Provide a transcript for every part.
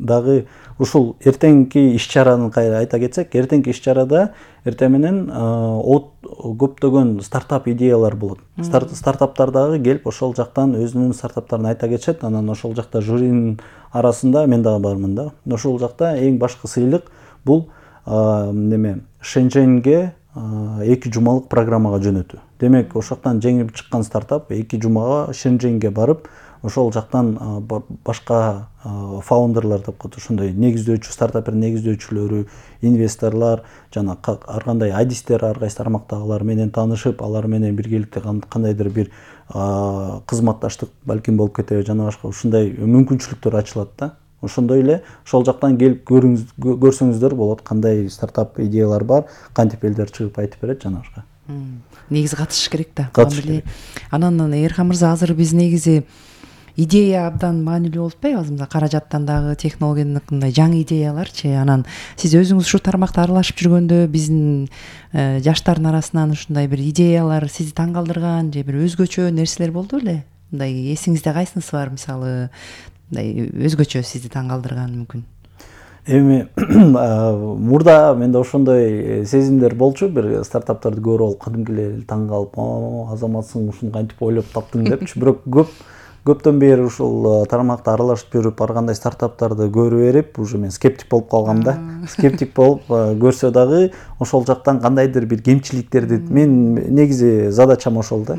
дагы ушул эртеңки иш-чараны айта кетсек, эртеңки иш-чарада эртең менен көптөгөн стартап идеялар болот. Стартаптар дагы келип ошол жактан өзүнүн стартаптарын айта кетишет. Анан ошол жакта жюринин арасында мен дагы бармын да. Ошол жакта эң башкы сыйлык бул Шэньчжэньге 2 жумалык программага жөнөтүү. Демек, ошол жактан жеңип чыккан стартап 2 жумага Шэньчжэньге барып, ошол жактан башка фаундерлар деп коет, ошондой негиздөөчү, стартаптын негиздөөчүлөрү, инвесторлар жана ар кандай адистер, ар кайсы тармактагылар менен таанышып, алар менен биргеликте кандайдыр бир кызматташтык балким болуп кетеби жана башка ушундай мүмкүнчүлүктөр ачылат да. Ошондой эле ошол жактан келип көрсөңүздөр болот, кандай стартап идеялар бар, кантип элдер чыгып айтып берет жана башка. Негизи катышыш керек да. Анан Эрхан мырза, азыр биз негизи идея абдан маанилүү болуп атпайбы? Каражаттан дагы, технологиядан мындай жаңы идеяларчы. Анан сиз өзүңүз ушу тармакта аралашып жүргөндө биздин жаштардын арасынан ушундай бир идеялар сизди таң калтырган же бир өзгөчө нерселер болду беле? Мындай эсиңизде кайсынысы бар, мисалы, мындай өзгөчө сизди таң калтырган мүмкүн? Эми мурда менде ошондой сезимдер болчу, бир стартаптарды көрүп алып кадимки эле таң калып, азаматсың, ушуну кантип ойлоп таптың депчи. Бирок көптөн бери ушул тармакта аралашып жүрүп, ар кандай стартаптарды көрүп берип, уже мен скептик болуп калгам да. Скептик болуп көрсө дагы ошол жактан кандайдыр бир кемчиликтерди, мен негизи задачам ошол да.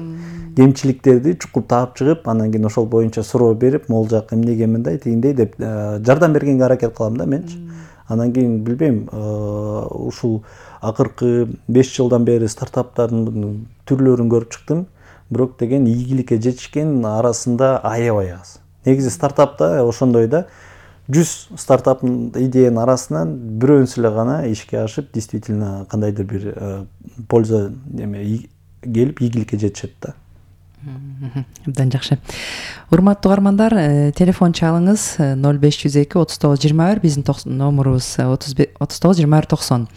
Кемчиликтерди чукуп таап чыгып, анан кийин ошол боюнча суроо берип, могул жак эмнеге мындай, тигиндей деп жардам бергенге аракет кылам да менчи. Анан кийин билбейм, ушул акыркы 5 жылдан бери стартаптардын түрлөрүн көрүп чыктым. Бирок деген ийгиликке жетишкен арасында аябай аз. Негизи стартапта ошондой да, 100 стартап идеянын арасынан бирөөсү эле гана ишке ашып, действительно кандайдыр бир польза келип ийгиликке жетишет да. Абдан жакшы. Урматтуу угармандар, телефон чалыңыз 0502 3921, биздин номерубуз 392190.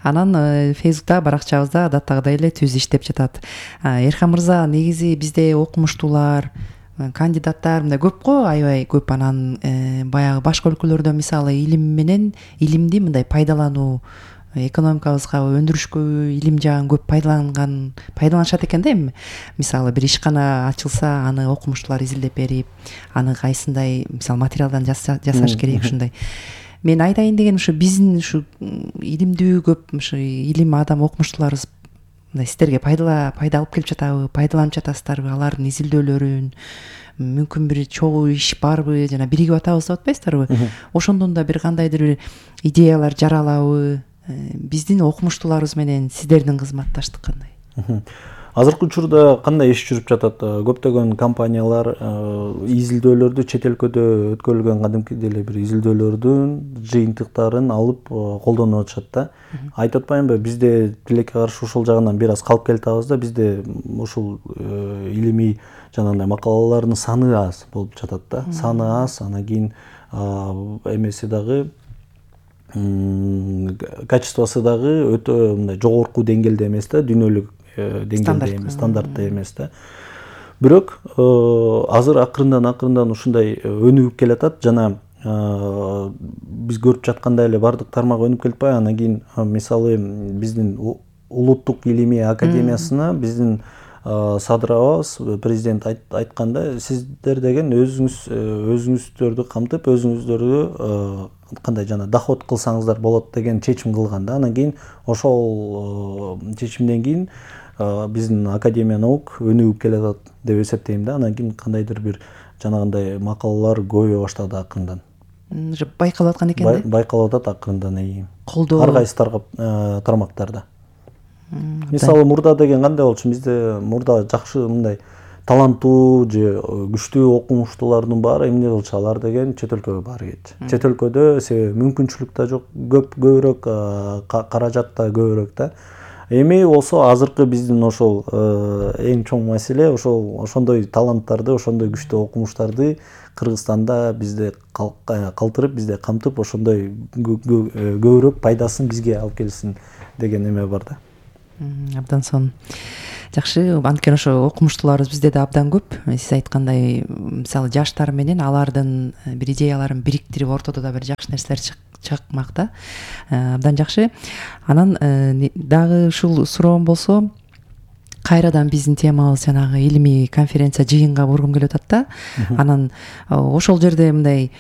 Анан Facebook'та баракчабызда адаттагыдай эле түз иштеп жатат. Эрхан мырза, негизи бизде окумуштуулар, кандидаттар мындай көп го, аябай көп. Анан баягы башка өлкөлөрдө мисалы илимди мындай пайдалануу, экономикабызга, өндүрүшкө илим жагын көп пайдаланышат экен да. Эми мисалы бир ишкана ачылса, аны окумуштуулар изилдеп берип, аны кайсындай мисалы материалдан жасаш керек, ушундай. Мен айтайын деген ушу биздин ушу илимдүү көп ушу илим адам окумуштууларыбыз мындай сиздерге пайда алып келип жатабы, пайдаланып жатасыздарбы, алардын изилдөөлөрүн, мүмкүн бир чогуу иш барбы, жана биригип атабыз деп атпайсыздарбы? Ошондон да бир кандайдыр бир идеялар жаралабы? Биздин окумуштууларыбыз менен сиздердин кызматташтык кандай? Азыркы учурда кандай иш жүрүп жатат? Көптөгөн компаниялар изилдөөлөрдү, чет өлкөдө өткөрүлгөн кадимки деле бир изилдөөлөрдүн жыйынтыктарын алып колдонуп атышат да. Айтып атпаймынбы, бизде тилекке каршы ушул жагынан бир аз калып келатабыз да. Бизде ушул илимий жанагындай макалалардын саны аз болуп жатат да. Саны аз, анан кийин эмеси дагы качествосы дагы өтө мындай жогорку деңгээлде эмес да, дүйнөлүк деңгээлде эмес, стандартта эмес да. Бирок азыр акырындан ушундай өнүгүп келатат жана биз көрүп жаткандай эле бардык тармак өнүгүп келип атпайбы. Анан кийин мисалы биздин улуттук илимий академиясына биздин садырабыз президент айтканда, сиздер деген өзүңүздөрдү камтып, өзүңүздөрдү кандай жана доход кылсаңыздар болот деген чечим кылган да. Анан кийин ошол чечимден кийин биздин Академия наук өнүгүп келатат деп эсептейм да. Анан кийин кандайдыр бир жанагындай макалалар көбөйө баштады акырындан. Байкалып аткан экен да? Байкалып атат акырындан. Колдоо ар кайсы тармактарда. Мисалы мурда деген кандай болчу? Бизде мурда жакшы мындай таланттуу же күчтүү окумуштуулардын баары эмне кылчу? Алар деген чет өлкөгө баары кетчү. Чет өлкөдө себеби мүмкүнчүлүк да жок, көбүрөөк каражат да көбүрөөк да. Эми болсо азыркы биздин ошол эң чоң маселе ошондой таланттарды, ошондой күчтүү окумуштарды Кыргызстанда бизде калтырып, бизде камтып, ошондой көбүрөөк пайдасын бизге алып келсин деген эме бар да. Абдан сонун. Жакшы, анткени ошо окумуштууларыбыз бизде да абдан көп. Сиз айткандай, мисалы жаштар менен алардын бир идеяларын бириктирип ортодо да бир жакшы нерселер чыкмак да. Абдан жакшы. Анан дагы ушул суроом болсо, кайрадан биздин темабыз жанагы илимий конференция жыйынга бургум келип атат да. Анан ошол жерде мындай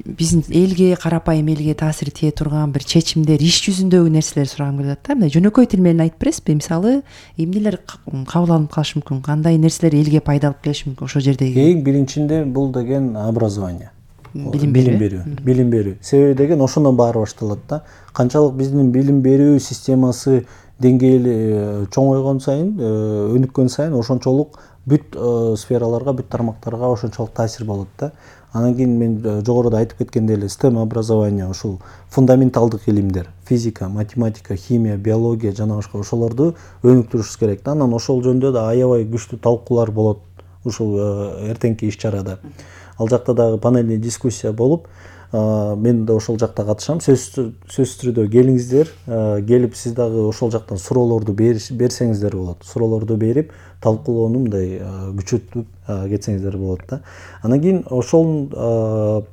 биздин элге, карапайым элге таасири тие турган бир чечимдер, иш жүзүндөгү нерселер сурагым келип атат да. Мындай жөнөкөй тил менен айтып бересизби? Мисалы, эмнелер кабыл алынып калышы мүмкүн? Кандай нерселер элге пайдалып келиши мүмкүн ошол жердеги? Эң биринчинде бул деген образование. Билим берүү. Себеби деген ошондон баары башталат да. Канчалык биздин билим берүү системасы деңгээли чоңойгон сайын, өнүккөн сайын ошончолук бүт сфераларга, бүт тармактарга ошончолук таасир болот да. Анан кийин мен жогоруда айтып кеткендей эле STEM образование, ушул фундаменталдык илимдер, физика, математика, химия, биология жана башка ошолорду өнүктүрүшүбүз керек да. Анан ошол жөнүндө да аябай күчтүү талкуулар болот ушул эртеңки иш-чарада. Ал жакта дагы панельный дискуссия болуп, мен да ошол жакта катышам. Сөзсүз түрдө келиңиздер, келип сиз дагы ошол жактан суроолорду берсеңиздер болот. Суроолорду берип, талкуулоону мындай күчөтүп кетсеңиздер болот да. Анан кийин ошол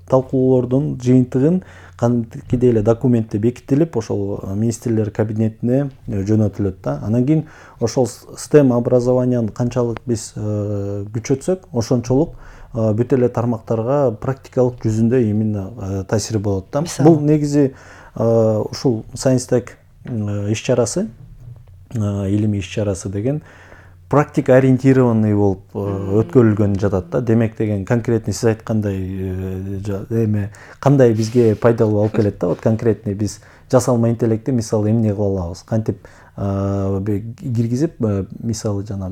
талкуулоордун жыйынтыгын кандайдыр эле документте бекитилип, ошол министрлер кабинетине жөнөтүлөт да. Анан кийин ошол STEM образованияны канчалык биз күчөтсөк, ошончолук бүт эле тармактарга практикалык жүзүндө именно таасири болот да. Бул негизи ушул Science Tech иш-чарасы, илимий иш-чарасы деген практика ориентированный болуп өткөрүлгөн жатат да. Демек деген конкретный сиз айткандай кандай бизге пайдалуу алып келет да. Вот конкретный биз жасалма интеллектти мисалы эмне кыла алабыз? Кантип киргизип, мисалы жана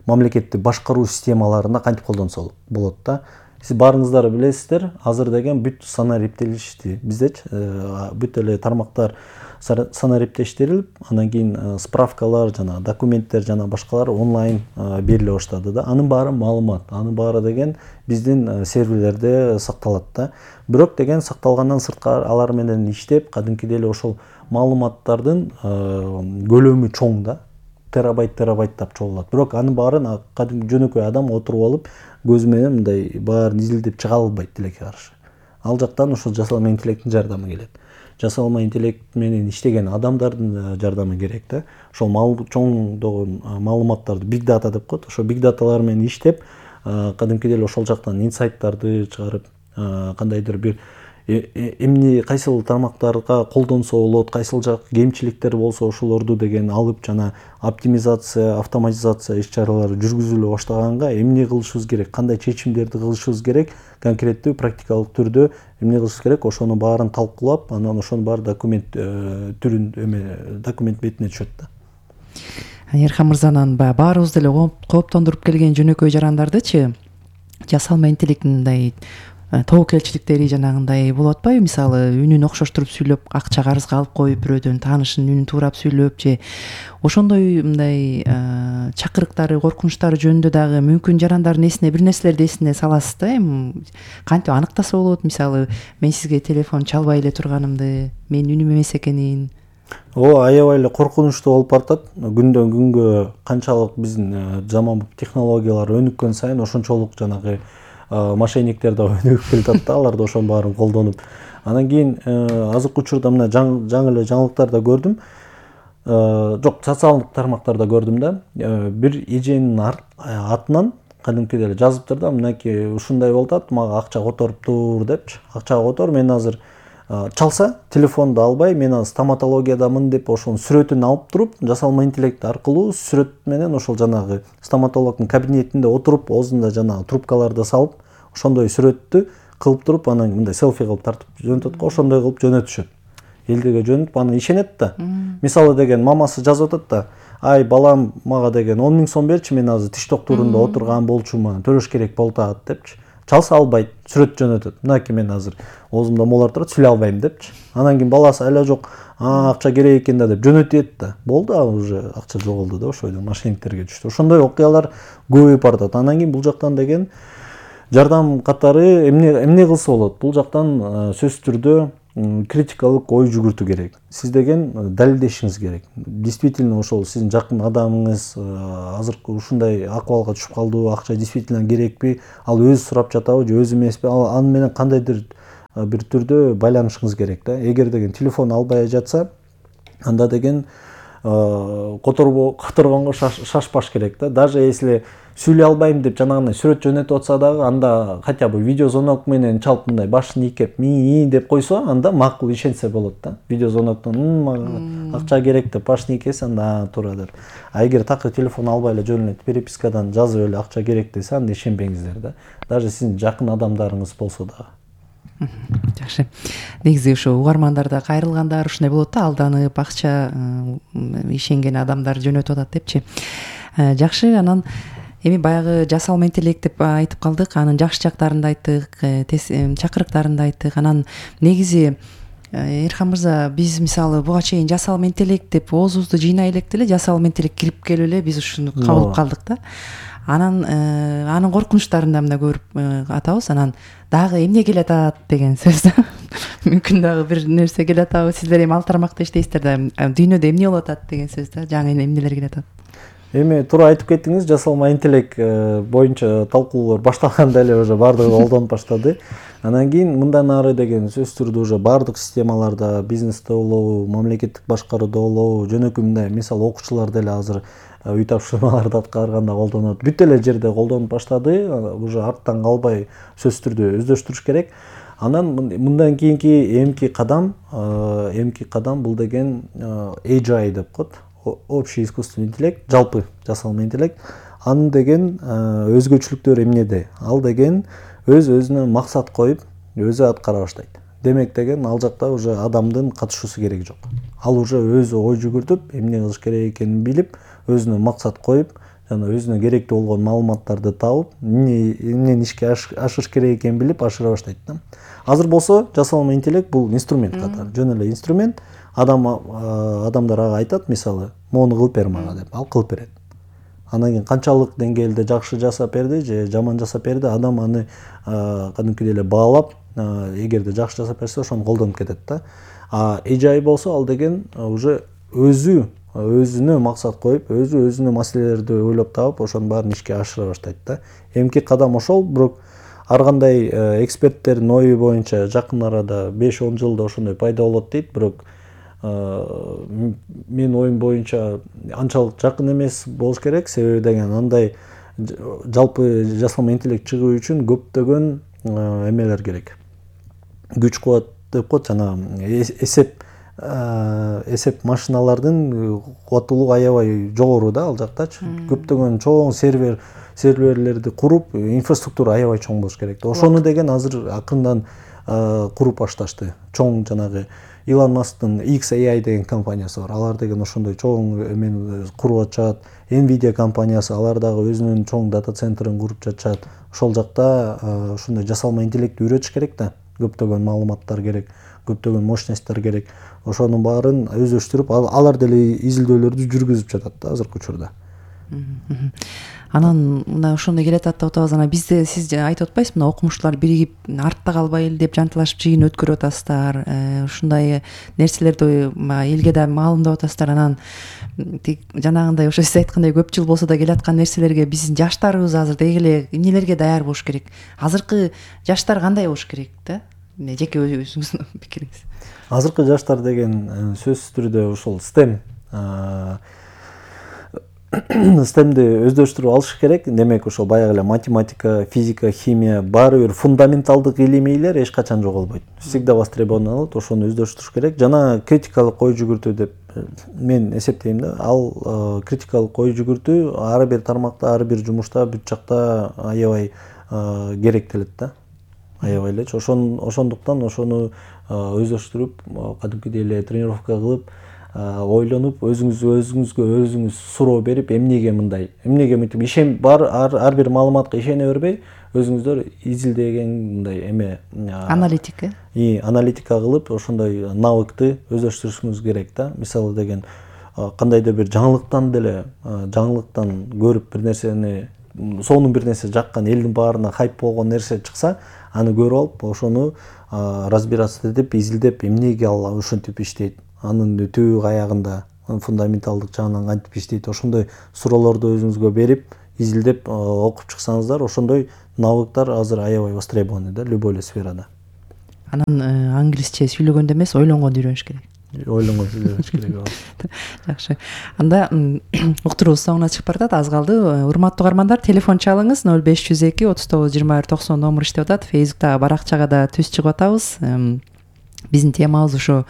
мамлекетти башкаруу системаларына кантип колдонсо болот да. Сиз баарыңыздар билесиздер, азыр деген бүт санариптелишти. Биздечи бүт эле тармактар санариптештирилип, анан кийин справкалар жана документтер жана башкалар онлайн бериле баштады да. Анын баары маалымат, анын баары деген биздин серверлерде сакталат да. Бирок деген сакталгандан сырткары алар менен иштеп, кадимкидей эле ошол маалыматтардын көлөмү чоң да. Терабайттап чогулат. Бирок анын баарын кадимки жөнөкөй адам отуруп алып, көзү менен мындай баарын изилдеп чыга албайт тилекке каршы. Ал жактан ошол жасалма интеллекттин жардамы келет. Жасалма интеллект менен иштеген адамдардын жардамы керек да. Ошол чоңдогон маалыматтарды big data деп коет. Ошол big dataлар менен иштеп, кадимкидей эле ошол жактан инсайттарды чыгарып, кандайдыр бир эмне кайсыл тармактарга колдонсо болот, кайсыл жак кемчиликтер болсо ошолорду деген алып жана оптимизация, автоматизация иш-чаралары жүргүзүлө баштаганга эмне кылышыбыз керек, кандай чечимдерди кылышыбыз керек, конкреттүү практикалык түрдө эмне кылышыбыз керек, ошону баарын талкуулап, анан ошонун баары документ түрүн документ бетине түшөт да. Эрхан мырзанын баарыбызды эле кооптондуруп келген жөнөкөй жарандардычы жасалма интеллекттин мындай тобокелчиликтери жанагындай болуп атпайбы? Мисалы, үнүн окшоштуруп сүйлөп, акча карызга алып коюп, бирөөдөн таанышынын үнүн туурап сүйлөп же ошондой мындай чакырыктары, коркунучтары жөнүндө дагы мүмкүн жарандардын эсине бир нерселерди эсине саласыз да. Кантип аныктаса болот? Мисалы, мен сизге телефон чалбай эле турганымды, менин үнүм эмес экенин. Аябай эле коркунучтуу болуп баратат. Күндөн күнгө канчалык биздин заманбап технологиялар өнүккөн сайын ошончолук жанагы мошенниктер да өнүгүп келатат да, алар да ошонун баарын колдонуп. Анан кийин азыркы учурда мына жаңы эле жаңылыктарда көрдүм. Жок, социалдык тармактарда көрдүм да. Бир эженин атынан кадимкидей эле жазыптыр да, мынакей ушундай болуп атат, мага акча которуптур депчи. Акчага котор, мен азыр чалса, телефонду албай, мен азыр стоматологиядамын деп ошонун сүрөтүн алып туруп, жасалма интеллект аркылуу сүрөт менен ошол жанагы стоматологдун кабинетинде отуруп, оозунда жанагы трубкаларды салып, ошондой сүрөттү кылып туруп, анан мындай селфи кылып тартып жөнөтөт го, ошондой кылып жөнөтүшөт. Элдерге жөнөтүп, анан ишенет да. Мисалы деген мамасы жазып атат да, ай балам мага деген 10 000 сом берчи, мен азыр тиш доктурунда отурган болчумун, төлөш керек болуп атат депчи. Чалса албайт, сүрөт жөнөтөт. Мынакей мен азыр оозумда молар турат, сүйлөй албайм депчи. Анан кийин баласы айла жок, акча керек экен да деп жөнөтөт да. Болду, уже акча жоголду да, ошойдон мошенниктерге түштү. Ошондой окуялар көбөйүп баратат. Анан кийин бул жактан деген жардам катары эмне кылса болот? Бул жактан сөзсүз түрдө критикалык ой жүгүртүү керек. Сиз деген далилдешиңиз керек. Действительно ошол сиздин жакын адамыңыз азыркы ушундай акыбалга түшүп калдыбы, акча действительно керекпи, ал өзү сурап жатабы же өзү эмеспи, аны менен кандайдыр бир түрдө байланышыңыз керек да. Эгер деген телефон албай жатса, анда деген которгонго шашпаш керек да. Даже если сүйлөй албайм деп жанагындай сүрөт жөнөтүп атса дагы, анда хотя бы видеозвонок менен чалып мындай башын ийкеп ми деп койсо, анда макул ишенсе болот да. Видеозвоноктон мага акча керек деп башын ийкесе, анда туура деп. А эгер такыр телефон албай эле жөн эле перепискадан жазып эле акча керек десе, анда ишенбеңиздер да. Даже сиздин жакын адамдарыңыз болсо дагы. Жакшы. Негизи ушу угармандарда кайрылгандар ушундай болот да, алданып акча ишенген адамдар жөнөтүп атат депчи. Жакшы, анан эми баягы жасалма интеллект деп айтып калдык, анын жакшы жактарын да айттык, чакырыктарын да айттык. Анан негизи Эрхан мырза, биз мисалы буга чейин жасалма интеллект деп оозубузду жыйнай электе эле жасалма интеллект кирип келип эле биз ушуну кабылып калдык да. Анын коркунучтарын да мына көрүп атабыз. Анан дагы эмне келатат деген сөз да. Мүмкүн дагы бир нерсе келатабы, сиздер эми ал тармакта иштейсиздер да, дүйнөдө эмне болуп атат деген сөз да, жаңы эмнелер келатат. Эми туура айтып кеттиңиз, жасалма интеллект боюнча талкуулор башталганда эле уже баардыгы колдонуп баштады. Анан кийин мындан ары деген сөзсүз түрдө уже баардык системаларда, бизнесте болобу, мамлекеттик башкарууда болобу, жөнөкөй мындай мисалы окуучулар деле азыр үй тапшырмаларды аткарганда колдонот. Бүт эле жерде колдонуп баштады. Уже арттан калбай сөзсүз түрдө өздөштүрүш керек. Анан мындан кийинки эмки кадам бул деген AI деп коет. Общий искусственный интеллект, жалпы жасалма интеллект. Анын деген өзгөчөлүктөрү эмнеде? Ал деген өзүнө максат коюп, өзү аткара баштайт. Демек деген ал жакта уже адамдын катышуусу керек жок. Ал уже өзү ой жүгүртүп, эмне кылыш керек экенин билип, өзүнө максат коюп, жана өзүнө керектүү болгон маалыматтарды табып, эмнени ишке ашырыш керек экенин билип ашыра баштайт да. Азыр болсо жасалма интеллект бул инструмент катары, жөн эле инструмент. Адамдар ага айтат, мисалы, мону кылып бер мага деп, ал кылып берет. Анан кийин канчалык деңгээлде жакшы жасап берди же жаман жасап берди, адам аны кадимкидей эле баалап, эгерде жакшы жасап берсе, ошону колдонуп кетет да. AI болсо ал деген уже өзүнө максат коюп, өзүнө маселелерди ойлоп таап, ошонун баарын ишке ашыра баштайт да. Эмки кадам ошол, бирок ар кандай эксперттердин ою боюнча жакын арада 5-10 жылда ошондой пайда болот дейт, бирок менин оюм боюнча анчалык жакын эмес болуш керек. Себеби деген андай жалпы жасалма интеллект чыгуу үчүн көптөгөн эмелер керек. Күч кубат деп коет, жана эсеп машиналардын кубаттуулугу аябай жогору да ал жактачы. Көптөгөн чоң серверлерди куруп, инфраструктура аябай чоң болуш керек. Ошону деген азыр акырындан куруп башташты. Чоң жанагы Илон Масктын XAI деген компаниясы бар. Алар деген ошондой чоң эмени куруп атышат. Nvidia компаниясы, алар дагы өзүнүн чоң дата центрин куруп жатышат. Ошол жакта ошондой жасалма интеллектти үйрөтүш керек да. Көптөгөн маалыматтар керек, көптөгөн мощностьтар керек. Ошонун баарын өздөштүрүп, алар деле изилдөөлөрдү жүргүзүп жатат да азыркы учурда. Анан мына ошондой келатат деп атабыз. Анан бизде сиз айтып атпайсызбы, мына окумуштуулар биригип артта калбайлы деп жантылашып жыйын өткөрүп атасыздар. Ушундай нерселерди элге да маалымдап атасыздар. Анан жанагындай ошо сиз айткандай көп жыл болсо да келаткан нерселерге биздин жаштарыбыз азыр деги эле эмнелерге даяр болуш керек? Азыркы жаштар кандай болуш керек да? Жеке өзүңүздүн пикириңиз. Азыркы жаштар деген сөзсүз түрдө ошол STEMди өздөштүрүп алыш керек. Демек ошол баягы эле математика, физика, химия баары бир фундаменталдык илимийлер эч качан жоголбойт. Всегда востребован, ошону өздөштүрүш керек. Жана критикалык ой жүгүртүү деп мен эсептейм да. Ал критикалык ой жүгүртүү ар бир тармакта, ар бир жумушта, бүт жакта аябай керектелет да. Аябай эле. Ошондуктан ошону өздөштүрүп, кадимкидей эле тренировка кылып, ойлонуп, өзүңүз суроо берип, эмнеге мындай, эмнеге мынтип ишен бар, ар бир маалыматка ишене бербей, өзүңүздөр изилдеген мындай эме аналитика кылып, ошондой навыкты өздөштүрүшүңүз керек да. Мисалы деген кандайдыр бир жаңылыктан көрүп бир нерсени, сонун бир нерсе жаккан, элдин баарына хайп болгон нерсе чыкса, аны көрүп алып, ошону разбираться этип изилдеп эмнеге ал ушинтип иштейт, анын түбү аягында фундаменталдык жагынан кантип иштейт, ошондой суроолорду өзүңүзгө берип изилдеп окуп чыксаңыздар, ошондой навыктар азыр аябай востребованы да любой эле сферада. Анан англисче сүйлөгөндө эмес, ойлонгондо үйрөнүш керек. Ойлонгондо үйрөнүш керек. Жакшы. Анда уктуруубуз соңуна чыгып баратат, аз калды. Урматтуу угармандар, телефон чалыңыз 0502 39 21 90 номер иштеп атат. Фейсбуктагы баракчага да түз чыгып атабыз. Биздин темабыз ушу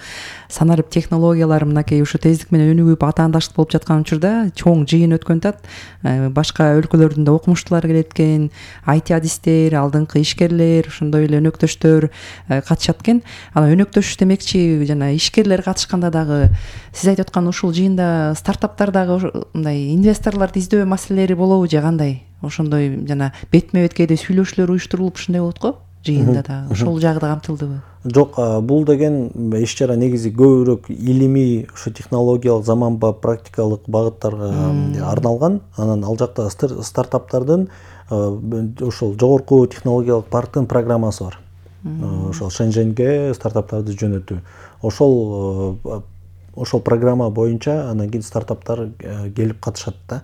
санарип технологиялары мынакей ушу тездик менен өнүгүп атаандаштык болуп жаткан учурда чоң жыйын өткөн атат. Башка өлкөлөрдүн да окумуштуулары келет экен, IT адистер, алдыңкы ишкерлер, ошондой эле өнөктөштөр катышат экен. Анан өнөктөш демекчи жана ишкерлер катышканда дагы сиз айтып аткан ушул жыйында стартаптардагы мындай инвесторлорду издөө маселелери болобу же кандай? Ошондой жана бетме бет кээде сүйлөшүүлөр уюштурулуп ушундай болот го? Жыйында да ошол жагы да камтылдыбы? Жок, бул деген иш-чара негизи көбүрөөк илимий, ушу технологиялык, заманбап, практикалык багыттарга арналган. Анан ал жакта стартаптардын ошол жогорку технологиялык парктын программасы бар. Ошол Шэньчжэньге стартаптарды жөнөтүү. Ошол программа боюнча анан кийин стартаптар келип катышат да.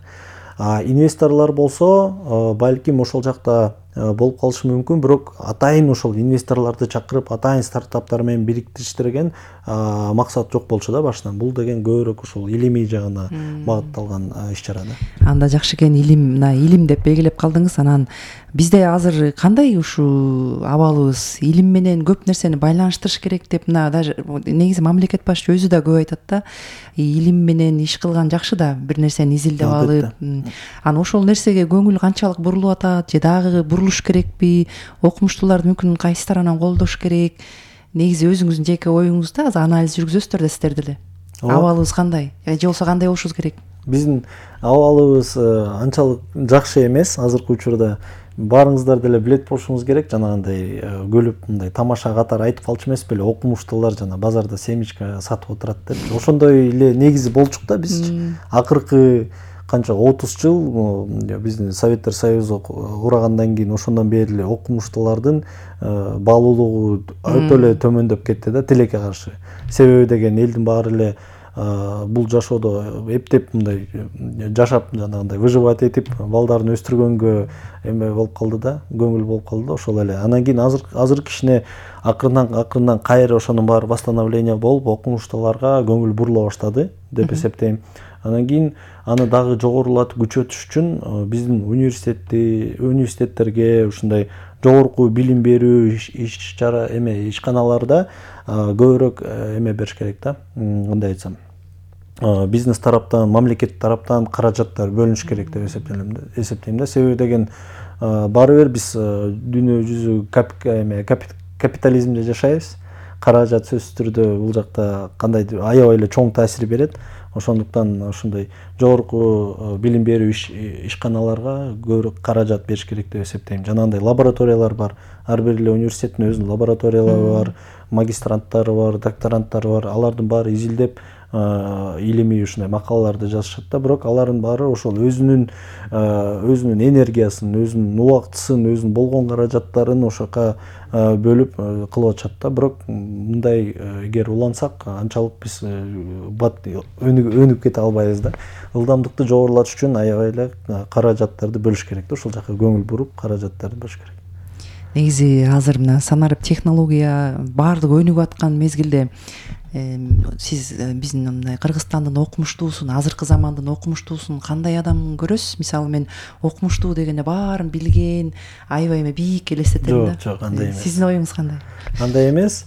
Инвесторлор болсо балким ошол жакта болуп калышы мүмкүн, бирок атайын ошол инвесторлорду чакырып, атайын стартаптар менен бириктиштирген максат жок болчу да башынан. Бул деген көбүрөөк ушул илимий жагына багытталган иш-чара да. Анда жакшы экен, илим деп белгилеп калдыңыз. Анан бизде азыр кандай ушул абалыбыз, илим менен көп нерсени байланыштырыш керек деп мына даже негизи мамлекет башчы өзү да көп айтат да. Илим менен иш кылган жакшы да, бир нерсени изилдеп алып. Анан ошол нерсеге көңүл канчалык бурулуп атат, же дагы бурулуш керекпи? Окумуштууларды мүмкүн кайсы тараптан колдош керек? Негизи өзүңүздүн жеке оюңузда анализ жүргүзөсүздөр да сиздер деле. Абалыбыз кандай? Же болбосо кандай болушубуз керек? Биздин абалыбыз анчалык жакшы эмес азыркы учурда. Баарыңыздар деле билет болушуңуз керек, жанагындай көлүп мындай тамаша катары айтып калчу эмес беле, окумуштуулар жана базарда семечка сатып отурат деп. Ошондой эле негизи болчук да биз. Акыркы канча 30 жыл биздин Советтер Союзу курагандан кийин ошондон бери эле окумуштуулардын баалуулугу өтө эле төмөндөп кетти да, тилекке каршы. Себеби деген элдин баары эле бул жашоодо эптеп мындай жашап жанагындай выживать этип балдарын өстүргөнгө эме болуп калды да, көңүл болуп калды да, ошол эле. Анан кийин азыркы кичине акырындан кайра ошонун баары восстановление болуп, окумуштууларга көңүл бурула баштады деп эсептейм. Анан кийин аны дагы жогорулатып күчөтүш үчүн биздин университеттерге, ушундай жогорку билим берүү иш-чара ишканаларда көбүрөөк эме бериш керек да, кандай айтсам, бизнес тараптан, мамлекет тараптан каражаттар бөлүнүш керек деп эсептейм да. Себеби деген баары бир биз дүйнө жүзү капитализмде жашайбыз. Каражат сөзсүз түрдө бул жакта кандайдыр аябай эле чоң таасир берет. Ошондуктан ошондой жогорку билим берүү ишканаларга көбүрөөк каражат бериш керек деп эсептейм. Жанагындай лабораториялар бар. Ар бир эле университеттин өзүнүн лабораториялары бар, магистранттары бар, докторанттары бар. Алардын баары изилдеп илимий ушундай макалаларды жазышат да, бирок алардын баары ошол өзүнүн энергиясын, өзүнүн убактысын, өзүнүн болгон каражаттарын ошока бөлүп кылып атышат да. Бирок мындай эгер улансак, анчалык биз өнүгүп кете албайбыз да. Ылдамдыкты жогорулатыш үчүн аябай эле каражаттарды бөлүш керек да, ошол жака көңүл буруп каражаттарды бөлүш керек. Негизи азыр мына санарип технология баардыгы өнүгүп аткан мезгилде сиз биздин мындай Кыргызстандын окумуштуусун, азыркы замандын окумуштуусун кандай адам көрөсүз? Мисалы мен окумуштуу дегенде баарын билген, аябай эме бийик элестетем да. Жок, андай эмес. Сиздин оюңуз кандай? Андай эмес.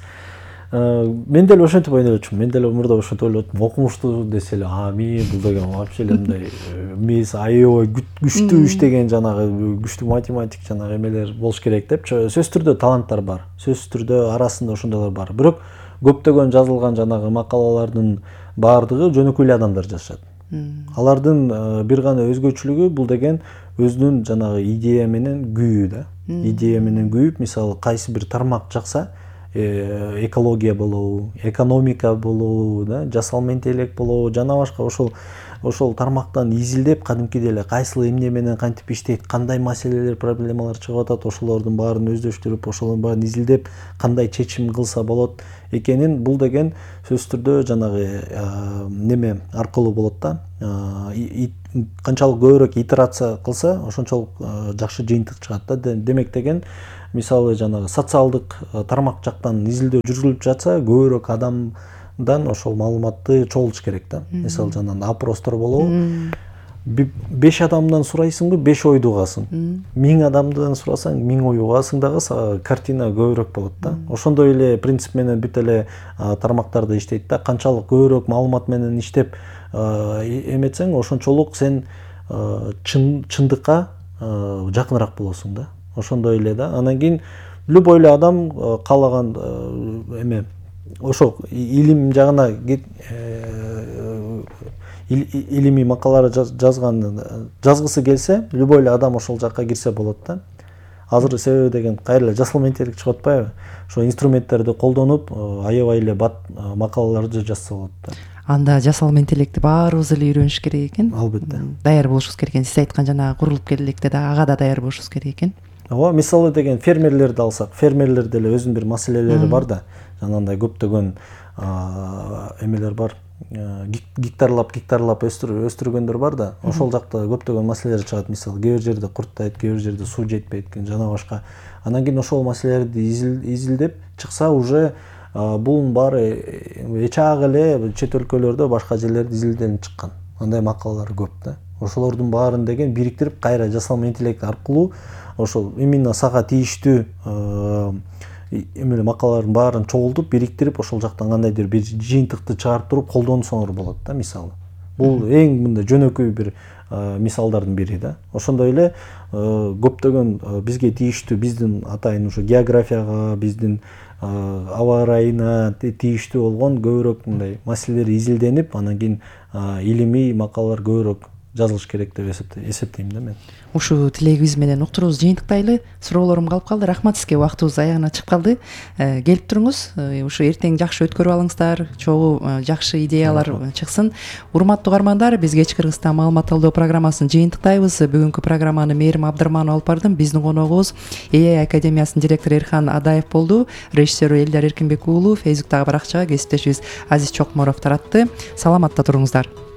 Мен деле ошентип ойлочумун. Мен деле мурда ошентип ойлоттум. Окумуштуу десе эле, мен бул деген вообще эле мындай мисс аябай күчтүү иштеген жанагы күчтүү математик жанагы эмелер болуш керек деп. Сөзсүз түрдө таланттар бар. Сөзсүз түрдө арасында ошондойлор бар. Бирок көптөгөн жазылган жанагы макалалардын баардыгы жөнөкөй эле адамдар жазышат. Алардын бир гана өзгөчөлүгү бул деген өзүнүн жанагы идея менен күйүү да. Идея менен күйүп, мисалы кайсы бир тармак жакса, экология болобу, экономика болобу, да, жасалма интеллект болобу, жана башка ошол тармактан изилдеп кадимкидей эле кайсыл эмне менен кантип иштейт, кандай маселелер, проблемалар чыгып атат, ошолордун баарын өздөштүрүп, ошолордун баарын изилдеп кандай чечим кылса болот экенин, бул деген сөзсүз түрдө жанагы неме аркылуу болот да. Канчалык көбүрөөк итерация кылса, ошончолук жакшы жыйынтык чыгат да. Демек деген, мисалы жанагы социалдык тармак жактан изилдөө жүргүзүлүп жатса, көбүрөөк адамдан ошол маалыматты чогултуш керек да. Мисалы жанагы опростор болобу, 5 адамдан сурайсыңбы, 5 ойду угасың. 1000 адамдан сурасаң, 1000 ой угасың дагы, картина көбүрөөк болот да. Ошондой эле принцип менен бүт эле тармактарда иштейт да. Канчалык көбүрөөк маалымат менен иштеп эметсең, ошончолук сен чындыкка жакыныраак болосуң да. Ошондой эле да. Анан кийин любой эле адам каалаган ошо илим жагына илимий макалалар жазгысы келсе, любой эле адам ошол жакка кирсе болот да. Азыр себеби деген кайра эле жасалма интеллект чыгып атпайбы? Ошо инструменттерди колдонуп, аябай эле бат макалаларды жазса болот да. Анда жасалма интеллектти баарыбыз эле үйрөнүш керек экен. Албетте. Даяр болушубуз керек экен. Сиз айткан жанагы курулуп келелекте да ага да даяр болушубуз керек экен. Ооба, мисалы деген фермерлерди алсак, фермерлерде эле өзүнүн бир маселелери бар да. Жанагындай көптөгөн эмелер бар. Гектарлап өстүргөндөр бар да. Ошол жакта көптөгөн маселелер чыгат. Мисалы, кээ бир жерде курттайт, кээ бир жерде суу жетпейт, жана башка. Анан кийин ошол маселелерди изилдеп чыкса, уже бунун баары эчак эле чет өлкөлөрдө, башка жерлерде изилденип чыккан. Андай макалалар көп да. Ошолордун баарын деген бириктирип, кайра жасалма интеллект аркылуу ошол именно сага тийиштүү макалалардын баарын чогултуп, бириктирип, ошол жактан кандайдыр бир жыйынтыкты чыгарып туруп колдонсоңор болот да, мисалы. Бул эң мындай жөнөкөй бир мисалдардын бири да. Ошондой эле көптөгөн бизге тийиштүү, биздин атайын ушу географияга, биздин аба ырайына тийиштүү болгон көбүрөөк мындай маселелер изилденип, анан кийин илимий макалалар көбүрөөк жазылыш керек деп эсептейм да мен. Ушу тилегибиз менен уктуруубузду жыйынтыктайлы. Суроолорум калып калды. Рахмат сизге, убактыбыз аягына чыгып калды. Келип туруңуз, ушу эртең жакшы өткөрүп алыңыздар, чогуу жакшы идеялар чыксын. Урматтуу угармандар, биз кечки Кыргызстан маалымат алуу программасын жыйынтыктайбыз. Бүгүнкү программаны Мээрим Абдырманова алып бардым. Биздин коногубуз AI Академиясынын директору Эрхан Адаев болду. Режиссеру Элдар Эркинбек уулу, Фейсбуктагы баракчага кесиптешибиз Азиз Чокморов таратты. Саламатта туруңуздар.